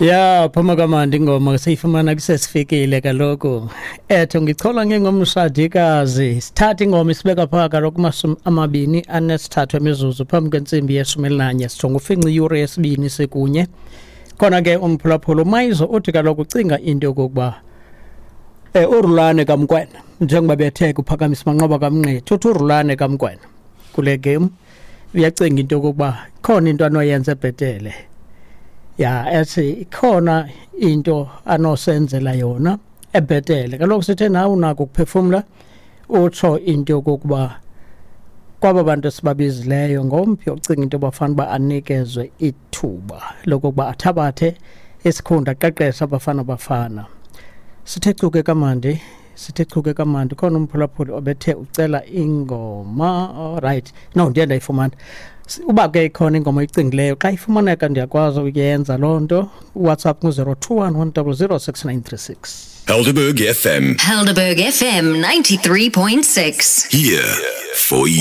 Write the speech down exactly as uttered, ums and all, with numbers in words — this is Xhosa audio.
Ya, phuma kamandi ingoma, seyifumana kusesifikile kaloku. Etho ngichola ngengomshadikazi. Sithatha ingoma isibeka phaka kaloku mashumi amabini anesithathu emizuzu phambi kwentsimbi yeshumi elinanye, sijonga ufinca iyure yesibini sekunye. Khona ke umphulaphula uMayizo uthi kaloku ucinga into yokokuba eh uRulani kaMokwena, njengoba bethe kuphakamisa Manqoba kaMngqithi, uthi uRulani kaMokwena kule game uyacinga into yokokuba khona into anoyenza ebhetele. Ya, ethi ikhona into anosenzela yona ebhetele. Kaloku sithe nawe unako ukuphefumla, utsho into yokokuba kwaba bantu esibabizileyo ngomphi ocinga into yoba fanele uba anikezwe ithuba lokokuba athabathe isikhundla, aqeqeshe Abafana Bafana. Sithe chuke kamandi, sithe chuke kamandi. Khona umphulaphuli obethe ucela ingoma. Alright, no, ndiye ndayifumana. Uba ke ikhona ingoma oyicingileyo, xa ifumaneka ndiyakwazi ukuyenza loo nto. WhatsApp ngu-zero two one one double zero six nine three six. Helderberg F M. Helderberg F M ninety-three point six. Here for you.